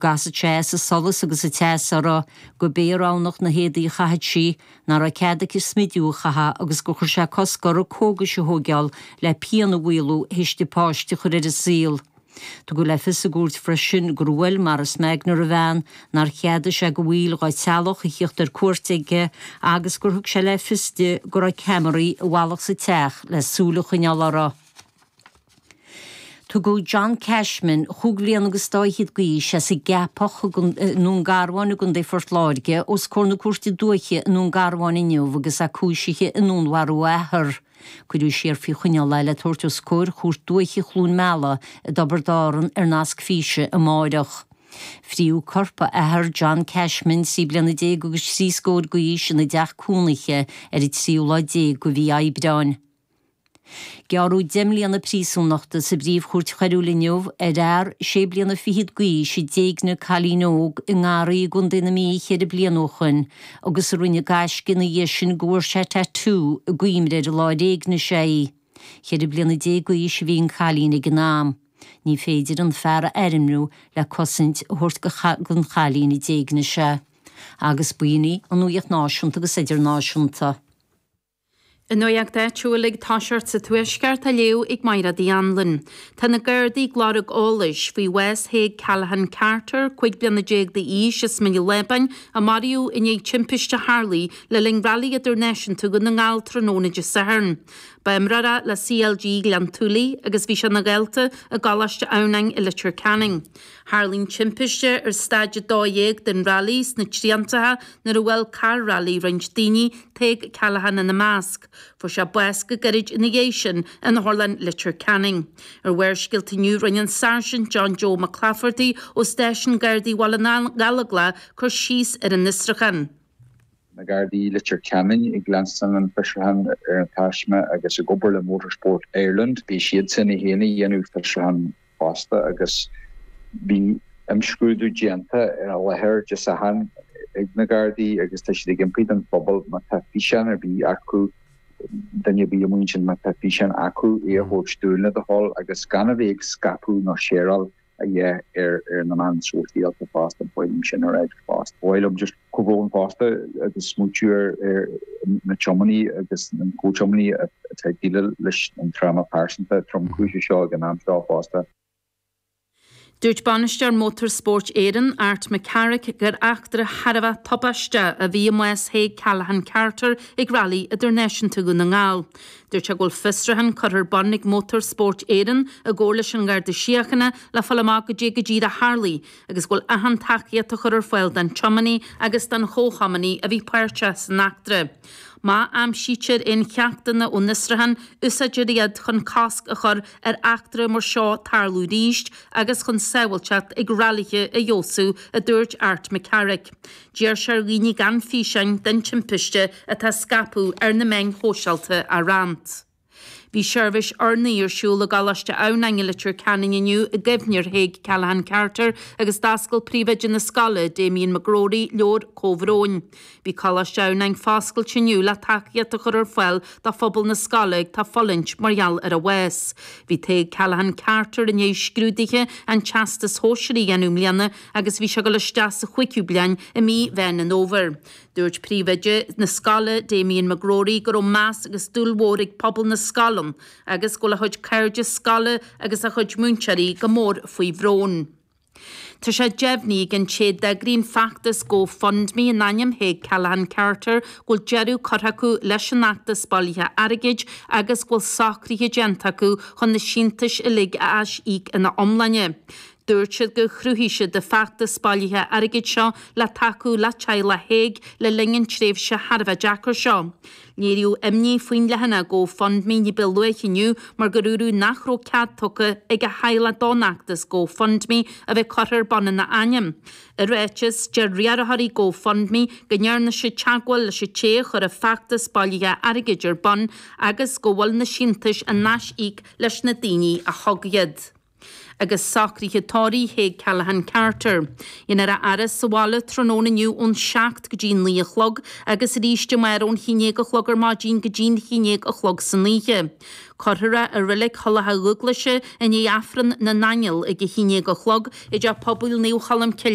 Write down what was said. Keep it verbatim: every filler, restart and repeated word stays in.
gcasadh sé as an solas agus an teas uirthi, gurb é a roghnódh na héadaí a chaitheadh sí, nach raibh cead aici smidiú a chaitheamh agus gur chuir sé cosc uirthi cógais a thógáil le pian a mhaolú théis di páiste a chur ar an saol. Tugadh le fios i gcúirt freisin gur bhuail Maurice Magner a bhean, nár cheadaigh sé do bhaill dá teaghlach a theacht ar cuairt aige agus gur thug sé le fios di go raibh ceamaraí i bhfolach sa teach le súil a choinneáil uirthi. Tugadh John Cashman, chúig bhliana agus dá fhichead d'aois, as an gCeapach i nDún Garbhán i gContae Phort Láirge, os comhair na Cúirte Dúiche i nDún Garbhán inniu agus é cúisithe i ndúnmharú a athar. Cuireadh siar faoi choinneáil é le tabhairt os comhair Chúirt Dúiche Chluain Meala i dTiobraid Árann ar nasc físe amáireach. Fríodh corp a athar John Cashman, trí bliana déag agus trí scór d'aois, ina dteach cónaithe ar an tríú lá déag de mhí Aibreáin. Gearradh deich mbliana príosúnachta sa bPríomh-Chúirt Choiriúil inniu ar fhear sé bliana fichead d'aois a d'éignigh cailín óg i nGarraí i gContae na Mí ceithre bliana ó shoin agus a rinne gaisce ina dhiaidh sin go bhfuair sé tatú i gcuimhne ar an lá ar éignigh sé í. Ceithre bliana déag d'aois a bhí an cailín ag an am. Ní féidir an fear a ainmniú le cosaint a thabhairt don chailín a d'éignigh sé. Agus b'in í an nuacht náisiúnta agus idirnáisiúnta. An nuacht áitiúil ag toiseacht sa Tuaisceart á léamh ag Máire Uí Anluain. Tá na Gardaí ag lorg eolais faoi bhás Thaidhg Callaghan Carter, cúig bliana déag d'aois as Mín an Lábáin, a maraíodh i ndiaidh timpiste a tharlaigh le linn Railí Idirnáisiúnta Dhún na nGall tráthnóna Dé Sathairn. Ba imreoir é le C L G Ghleann tSúilí agus bhí sé ina dhalta i gColáiste Adhamhnáin i Leitir Ceanainn. Tharla an timpiste ar staid a dó dhéag den railí sna Triantacha nuair a bhuail carr railí roinnt daoine, Tadhg Callaghan ina measc. Fuair sé bás go gairid ina dhiaidh sin in Otharlann Leitir Ceanainn. Ar Bharrscéalta inniu rinne an Sáirsint John Joe McClafferty ó Stáisiún Gardaí Bhaile na nGallóglach cur síos ar an fhiosrúchán. Na Gardaí Leitir Ceanainn ag leanstan an fiosrúchán ar an taisme agus ag obair le Motorsport Ireland. Bhí siad sin féin ag déanamh fiosrúchán fosta agus bhí imscrúdú déanta ar an láthair Dé Sathairn ag na Gardaí agus tá siad ag impí don phobal má tá físeán ar bith acu, duine ar bith amuigh ansin, má tá físeán acu, é a thabhairt dúinn le do thoil agus gan a bheith ag scaipeadh nó shareáil a dhéanamh ar ar na meáin sóisialta fosta. Ba mhaith liom sin a rá fosta. Ba mhaith liom just comhbhrón fosta agus smaoitiú ar ar na tiománaí agus an comh-tiománaí atá ag déileáil leis an tráma pearsanta tromchúiseach seo ag an am seo fosta. Dúirt bainisteoir Motorsport Éireann, Art McCarrick, gur eachtra thar a bheith tubaisteach a bhí i mbás Thaidhg Callaghan Carter ag Railí Idirnáisiúnta Dhún na nGall. Dúirt sé go bhfuil fiosrúchán curtha ar bun ag Motorsport Éireann i gcomhar leis an nGarda Síochána le fáil amach goidé go díreach a tharlaigh agus go bhfuil achan tacaíocht á chur ar fáil don tiománaí agus don chomhthiománaí a bhí páirteach san eachtra. Má aimsítear aon cheachtanna ón fhiosrúchán, úsáidfear iad chun cosc a chur ar eachtra mar seo tarlú arís agus chun sábháilteacht ag railithe a fheabhsú, a dúirt Art McCarrick. D'iarr sé ar dhaoine gan físeáin den timpiste atá á scaipeadh ar na meáin shóisialta a roinnt. Bhí seirbhís urnaí ar siúl i gColáiste Adhamhnáin i Leitir Ceanainn inniu i gcuimhne ar Thaidhg Callaghan Carter agus d'oscail príomhoide na scoile, Damien McGrory, leabhar comhbhróin. Bhí Coláiste Adhamhnáin foscailte inniu le tacaíocht a chur ar fáil do phobal na scoile atá ag fulaingt mar gheall ar a bhás. Bhí Tadhg Callaghan Carter i ndiaidh scrúduithe an Teastais Shóisearaigh a dhéanamh i mbliana agus bhí sé ag dul isteach sa chúigiú bliain i mí Mheán an Fhómhair. Dúirt príomhoide na scoile, Damien McGrory, go raibh meas agus dúil mhór ag pobal na scoile ann agus go bhfuil a chuid cairde scoile agus a chuid múinteoirí go mór faoi bhrón. Tá sé deimhnithe ag an té a d'eagraigh an feachtas GoFundMe in ainm Thaidhg Callaghan Carter go bhfuil deireadh curtha acu leis an fheachtas bailithe airgid agus go bhfuil socruithe déanta acu chun na síntiúis uilig a aisíoc ina iomláine. Dúirt siad gur chruthaigh siad an feachtas bailithe airgid seo le tacú le teaghlach Thaidhg le linn an tréimhse thar a bheith deacair seo. Léiríodh imní faoin leathanach GoFundMe ní ba luaithe inniu mar gur dúradh nach raibh cead tugtha ag a theaghlach don fheachtas GoFundMe a bheith curtha ar bun ina ainm. I ráiteas, deir riarthóirí GoFundMe go ndearna siad teagmháil leis an té a chuir an feachtas bailithe airgid ar bun agus go bhfuil na síntiúis á n-aisíoc leis na daoine a thug iad. Agus socruithe tórraimh Thaidhg Callaghan Carter. Déanfar a fhaire sa bhaile tráthnóna inniu ón seacht go dtí naoi a chlog agus arís amárach ón haon déag a chlog ar maidin go dtí'n haon déag a chlog san oíche. Cuirfear é i Reilig Thulach Dhúglaise i ndiaidh Aifreann na nAingeal ag a haon déag a chlog i dTeach Pobail Naomh Cholm Cille.